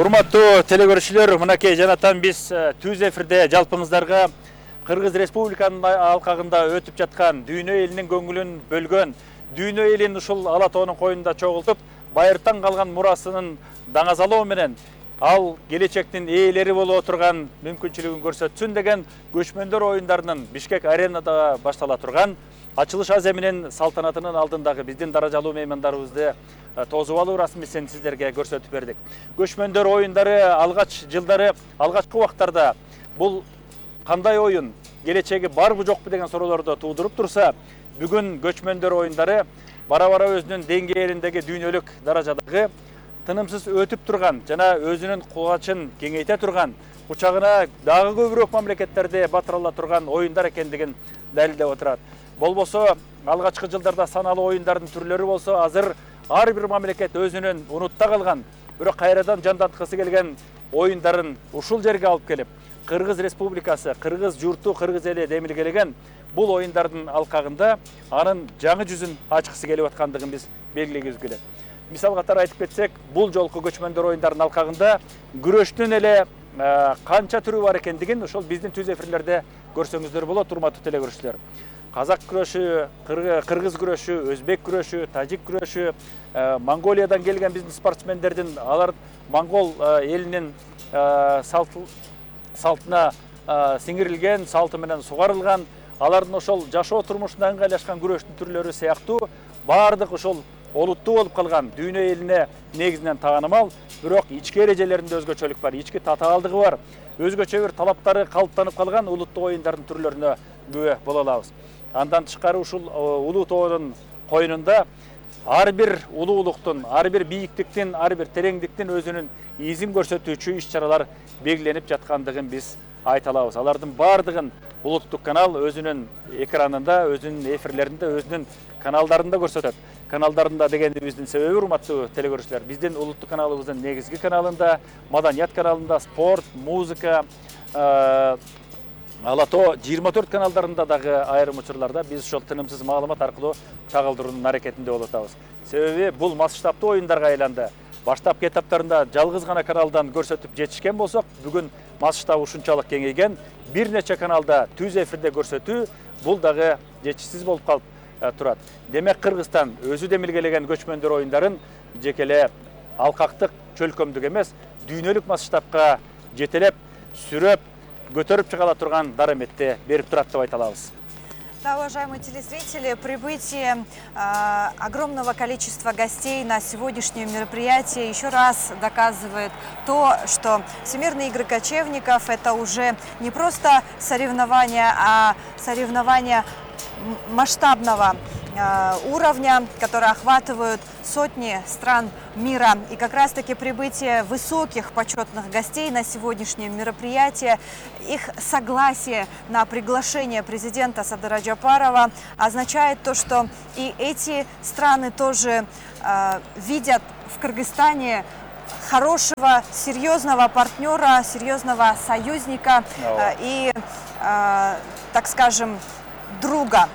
Урматтуу телекөрүүчүлөр, мынакей жанатан биз түз эфирде жалпыңыздарга Кыргыз Республиканын алкагында өтүп жаткан дүйнө элинин көңүлүн бөлгөн, дүйнө элин ушул ала тоонун коюнда чогултуп, байыртан калган мурасынын даңазалоо менен ал келечектин ээлери боло турган мүмкүнчүлүгүн көрсөтсүн деген көчмөндөр оюндарынын Бишкек аренада баштала турган ачылыш аземинин салтанатынын алдындагы биздин даражалуу меймандарыбызды тосуп алуу расмисин сиздерге көрсөтүп бердик. Көчмөндөр оюндары алгачкы убактарда бул кандай оюн, келечеги барбы жокпу деген суроолорду туудуруп турса, бүгүн көчмөндөр оюндары бара-бара өзүнүн деңгээлиндеги дүйнөлүк даражадагы тынымсыз өтүп турган жана өзүнүн кубачын кеңейте турган, учагына дагы көбүрөөк мамлекеттерди батырала турган оюндар экендигин далилдеп отурат. Болбосо алгачкы жылдарда саналуу оюндардын түрлөрү болсо, азыр ар бир мамлекет өзүнүн унутта калган, бирок кайрадан жанданткысы келген оюндарын ушул жерге алып келип, Кыргыз Республикасы, Кыргыз журту, Кыргыз эли демилгелеген бул оюндардын алкагында анын жаңы жүзүн ачкысы келип аткандыгын биз белгилегибиз келет. Мисал катары айтып кетсек, бул жолку көчмөндөр оюндарынын алкагында күрөштүн эле канча түрү бар экендигин ошол биздин түз эфирлерде көрсөңүздөр болот, урматтуу телекөрүүчүлөр. Казак күрөшү, кыргыз күрөшү, өзбек күрөшү, тажик күрөшү, Монголиядан келген биздин спортсмендердин, алар монгол элинин салтына сиңирилген, салты менен сугарылган, алардын ошол жашоо турмушуна ыңгайлашкан күрөштүн түрлөрү сыяктуу баардык ошол олуттуу болуп калган дүйнө элине негизинен таанымал, бирок ички эрежелеринде өзгөчөлүк бар, ички татаалдыгы бар, өзгөчө бир талаптары калыптанып калган улуттуу оюндардын түрлөрүнө күбө боло алабыз. Андан тышкары ушул улуу тоонун коюнунда ар бир улуулуктун, ар бир бийиктиктин, ар бир тереңдиктин өзүнүн изин көрсөтүүчү иш-чаралар белгиленип жаткандыгын биз айта алабыз. Алардын баардыгын улуттук канал өзүнүн экранында, өзүнүн эфирлеринде, өзүнүн каналдарында көрсөтөт. Каналдарында дегенибиздин себеби, урматтуу телекөрүүчүлөр, биздин улуттук каналыбыздын негизги каналында, маданият каналында, спорт, музыка, ала тоо 24 каналдарында дагы айрым учурларда биз ошол тынымсыз маалымат аркылуу чагылдыруунун аракетинде болуп атабыз. Себеби бул масштабтуу оюндарга айланды. Баштапкы этаптарында жалгыз гана каналдан көрсөтүп жетишкен болсок, бүгүн масштабы ушунчалык кеңейген, бир нече каналда түз эфирде көрсөтүү бул дагы жетишсиз болуп калып турат. Демек Кыргызстан өзү демилгелеген көчмөндөр оюндарын жекеле алкактык чөлкөмдүк эмес, дүйнөлүк масштабка жетелеп, сүрөп, көтөрүп чыгала турган дараметти берип турат деп айта алабыз. Да, уважаемые телезрители, прибытие огромного количества гостей на сегодняшнее мероприятие еще раз доказывает то, что Всемирные игры кочевников – это уже не просто соревнования, а соревнования масштабного уровня, которые охватывают сотни стран мира. И как раз-таки прибытие высоких почетных гостей на сегодняшнее мероприятие, их согласие на приглашение президента Садыра Джапарова означает то, что и эти страны тоже видят в Кыргызстане хорошего, серьезного партнера, серьезного союзника и, так скажем, друга.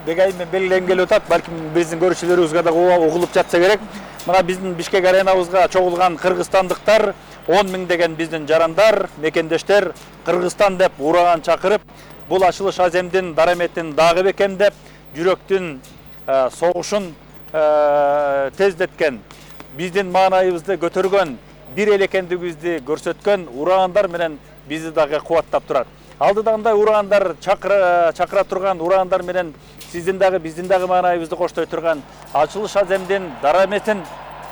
Дегаймен белгиленген келип атат, балким биздин көрүүчүлөрүбүзгө да угулуп жатса керек. Мына биздин Бишкек аренабызга чогулган кыргызстандыктар, 10 000 деген биздин жарандар, мекендештер Кыргызстан деп ураган чакырып, бул ачылыш аземдин дараметин дагы бекемдеп, жүрөктүн согушун тездеткен, биздин маанайыбызды көтөргөн, бир эл экендигибизди көрсөткөн урагандар менен бизди дагы кубаттап турат. Алдыдагындай урагандар чакыра турган урагандар менен сиздин дагы биздин дагы маанайыбызды коштой турган ачылыш аземдин дараметин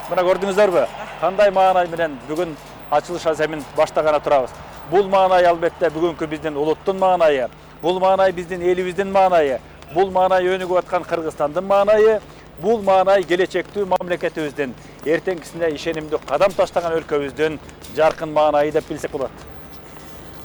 мына көрдүңүздөрбү? Кандай маанай менен бүгүн ачылыш аземин баштаганы турабыз. Бул маанай албетте бүгүнкү биздин улуттун маанайы, бул маанай биздин элибиздин маанайы, бул маанай өнүгүп аткан Кыргызстандын маанайы, бул маанай келечектүү мамлекетибиздин, эртеңкисине ишенимдүү кадам таштаган өлкөбүздүн жаркын маанайы деп билсек болот.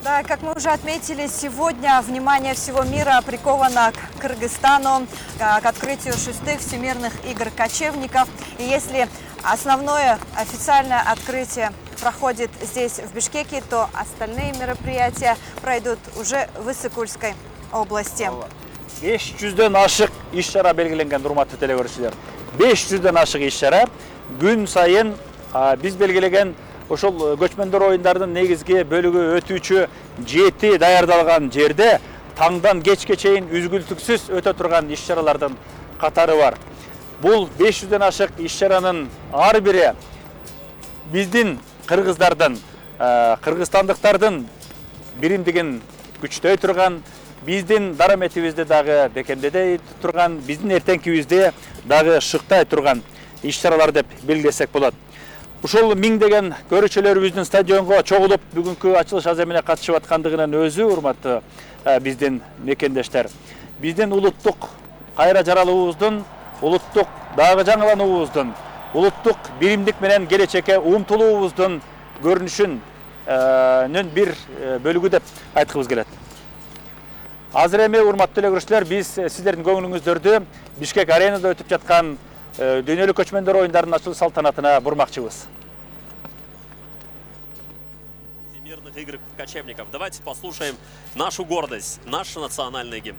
Да, как мы уже отметили, сегодня внимание всего мира приковано к Кыргызстану, к открытию 6-х Всемирных игр кочевников. И если основное официальное открытие проходит здесь, в Бишкеке, то остальные мероприятия пройдут уже в Ысык-Кульской области. 500дөн ашык иш-чара белгиленген, урматтуу телекөрүүчүлөр. 500дөн ашык иш-чара күн сайын биз белгилеген ошол көчмөндөр оюндарынын негизги бөлүгү өтүүчү 7 даярдалган жерде таңдан кечке чейин үзгүлтүксүз өтө турган иш-чаралардын катары бар. Бул 500ден ашык иш-чаранын ар бири биздин кыргыздардын, кыргызстандыктардын биримдигин күчтөй турган, биздин дараметибизди дагы бекемдей турган, биздин эртеңкибизди дагы шыктай турган иш-чаралар деп белгилесек болот. Ушул миңдеген көрүүчүлөрүбүздүн стадионго чогулуп бүгүнкү ачылыш аземине катышып аткандыгынын өзү урматтуу биздин мекендештер. Биздин улуттук кайра жаралуубуздун, улуттук дагы жаңылануубуздун, улуттук биримдик менен келечекке умтулуубуздун көрүнүшүнүн бир бөлүгү деп айткыбыз келет. Азыр эми урматтуу эле көрүүчүлөр, биз сиздердин көңүлүңүздөрдү Бишкек аренада өтүп жаткан дүйнөлүк көчмөндөр оюндарынын ачылыш салтанатына бурмакчыбыз. Всемирных игр кочевников. Давайте послушаем нашу гордость, наш национальный гимн.